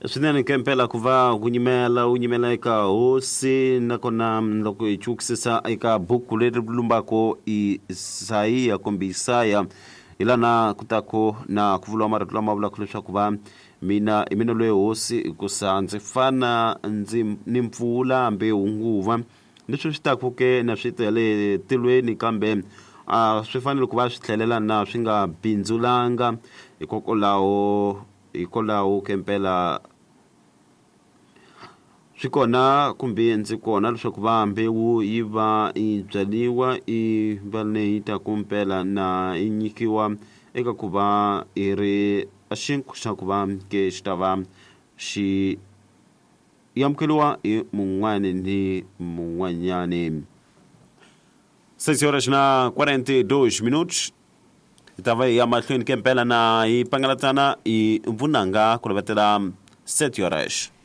Swinene ke mpela ku va ku nyimela u nyimela eka hosi, nakona loko hi chukisisa eka buku leri lumbako Isayiya kumbe Isaya, hi lana ku taku na ku vuriwa marito lama vulaka leswaku va mina hi mina loyi hosi, hikusa ndzi fana ndzi ni mpfula hambi hunguva leswi swi taku ke na swi ta le tilweni, kambe a swi fanele ku va swi tlhelela na swi nga bindzulanga. Hikwalaho ke mpela swi kona kumbe ndzi kona leswaku va mbewu yi va yi byariwa yi va leyi taku mpela na yi nyikiwa eka ku va yi ri xinkwa xa ku va ke xi ta va xi amukeriwa hi mun'wani ni mun'wanyani. 6 horas na 42 minutos, hi ta va hi ya mahlweni ke mpela na hi pangalatana hi vunanga ku lovetela 7 horas.